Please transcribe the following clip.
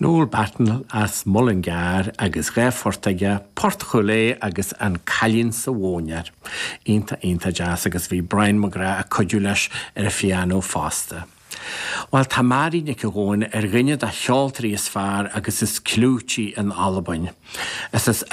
Noel Batten as Mullingar agus 2 phort aige, Port Chúil Aodha agus An Cailín sa Mhóinéar. Iontach, iontach deas agus bhí Brian McGrath ag cuidiú leis ar an phianó fosta. Bhuel, tá Màiri Nic Gabhann ar dhuine de cheoltóirí is fearr agus is clúití in Albain. Is as.